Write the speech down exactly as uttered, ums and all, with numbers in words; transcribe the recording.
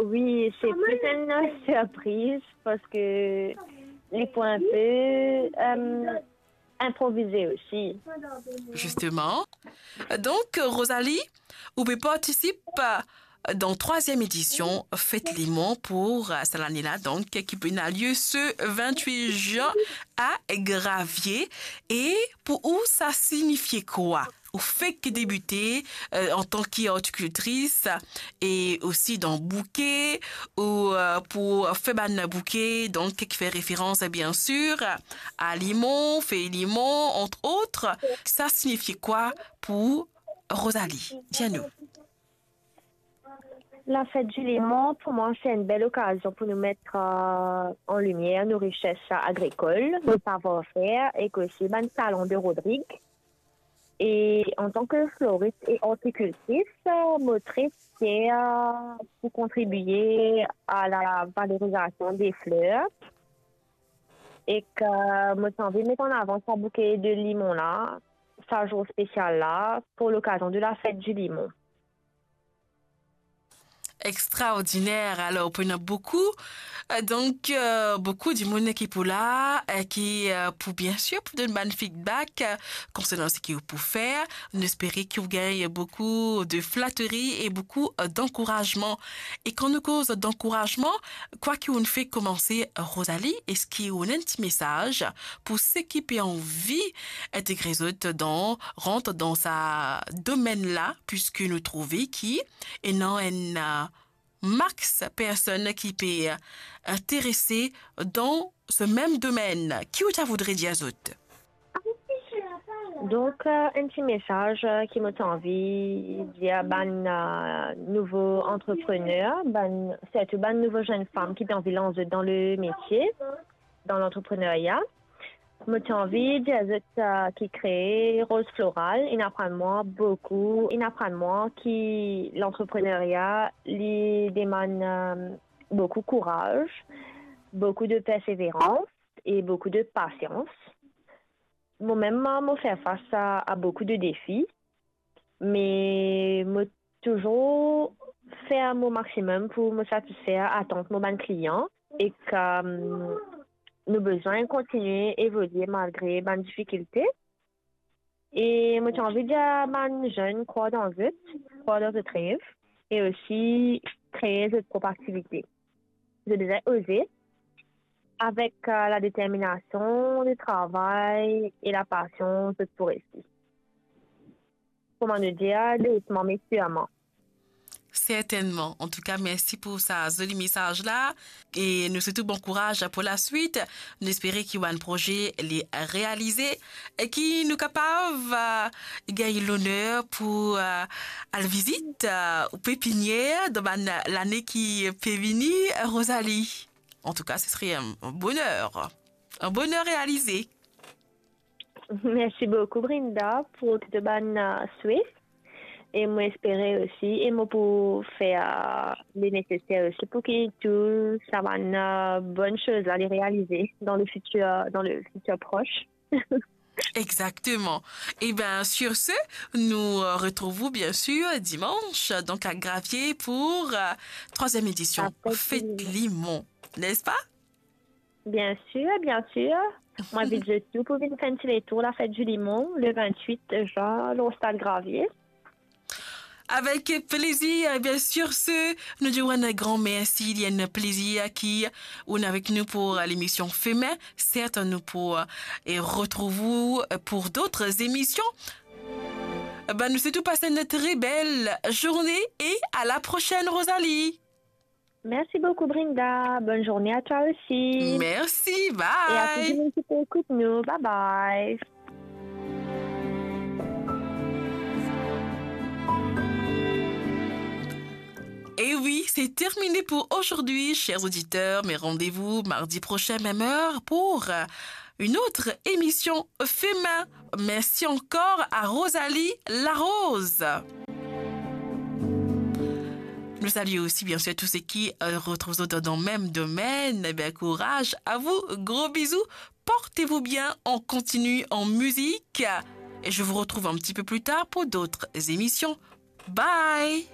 Wi, se plis enn sirpriz parski li pou enpe, euh, inprovize osi. Justement. Donc, Rosalie, ou pe partisip dan trwaziem edision Fet Limon pou, euh, sa lane la, donk, ki pou ena lie se vintwit zin a Gravier. E pou ou, sa signifie kwa? Ou fek debite, euh, antan ki ortikiltris e osi dan bouke, ou, euh, pou fer bann bouke, donk, ki fer referans, bien sir, a limon, fey limon, entre autres. Sa signifie kwa pou Rosalie? Dir nou. Lafet di limon, pou mwa, se enn bel okazion pou nou met, euh, an limier nou rises agrikol, nou savwar-fer, e osi bann talon de Rodrig. E antan ki floris e ortikiltris, euh, mo tre fier, euh, pou kontribie a la valorizasion de fler. E ki mo ti anvi met an avan sa bouke de limon la, sa zour spesial la, pou lokazion de lafet di limon. Extraordiner. Alor, pou ena boukou, euh, donk, euh, boukou dimoun ki pou la, euh, ki, euh, pou, bien sir, pou donn bann feedback, euh, konsernan seki ou pou fer. Nou espere ki ou gagn boukou de flateri e boukou, euh, dankourazman. E kan nou koz dankourazman, kwa ki ou'nn fek koumanse, Rosalie, eski ou'nn ena enn ti mesaz pou seki pe anvi integre zot dan, rant dan sa domenn la, piski nou trouve ki ena enn, euh, max personn ki pe, euh, interese dan se mem domenn. Ki ou ta voudre dir zot? Donk, euh, enn ti mesaz, euh, ki mo ti anvi dir bann, euh, nouvo antreprener, bann, sirtou bann nouvo zenn fam ki pe anvi lans zot dan le metie, dan lantreprenerya. Mo ti anvi dir zot, euh, ki kree Rose Floral, inn aprann mwa boukou, inn aprann mwa ki lantreprenerya, li demann, euh, boukou kouraz, boukou de perseverans e boukou de pasians. Momem, mo fer fas a, a boukou de defi, me mo touzour fer mo maximum pou mo satisfer atant mo bann klian e ki, euh, nou bizin kontinie evolie malgre bann difikilte. E mo ti anvi dir bann zenn krwar dan zot, krwar dan zot rev e osi kree zot prop aktivite. Zot bizin oze. Avek, euh, ladeterminasion, letravay e lapasion, zot pou resi. Kouma nou dir, dousman me sirman. Sertennman. Antouka, mersi pou sa zoli mesaz la. E nou swet ou bon kouraz pou laswit. Nou espere ki bann proze li realize e ki nou kapav, euh, gagn loner pou, euh, al vizit, euh, ou pepinier dan bann lane ki pe vini, Rosalie. Antouka, se sere enn boner. Enn boner realize. Mersi boukou, Brinda, pou tou bann, euh, swe. E mo espere osi, e mo pou fer, euh, le neseser osi pou ki tou sa bann, euh, bonn soz la, li realize dan le fitir, dan le fitir pros. Exactement. Eh ben, sur ce, nous, euh, retrouvons bien sûr dimanche, donc à Gravier pour, euh, troisième édition Fête Limon, n'est-ce pas? Bien sûr, bien sûr. Mwa, invit zot tou pou vinn fer enn ti letour la fête du limon, le vingt-huit juin, lor Stad Gravier. Avec plaisir, eh bien, sur ce, nou dir ou enn gran mersi, li enn plezir ki ou avek nou pou, euh, lemision Femin. Serten nou pou, euh, retrouv ou, euh, pou dot emision. Eh ben, nou swet ou pas enn tre bel zourne e à la prochaine, Rosalie. Merci beaucoup, Brinda. Bonne journée à toi aussi. Merci, bye. Et à tous les gens qui écoutent nous. Bye bye. Et oui, c'est terminé pour aujourd'hui, chers auditeurs, mais rendez-vous mardi prochain, même heure, pour, euh, une autre émission Femin. Merci encore à Rosalie Larose. Nous saluons aussi, bien sûr, tous ceux qui, euh, retrouvent dans le même domaine. Eh bien, courage à vous. Gros bisous. Portez-vous bien. On continue en musique. Et je vous retrouve un petit peu plus tard pour d'autres émissions. Bye.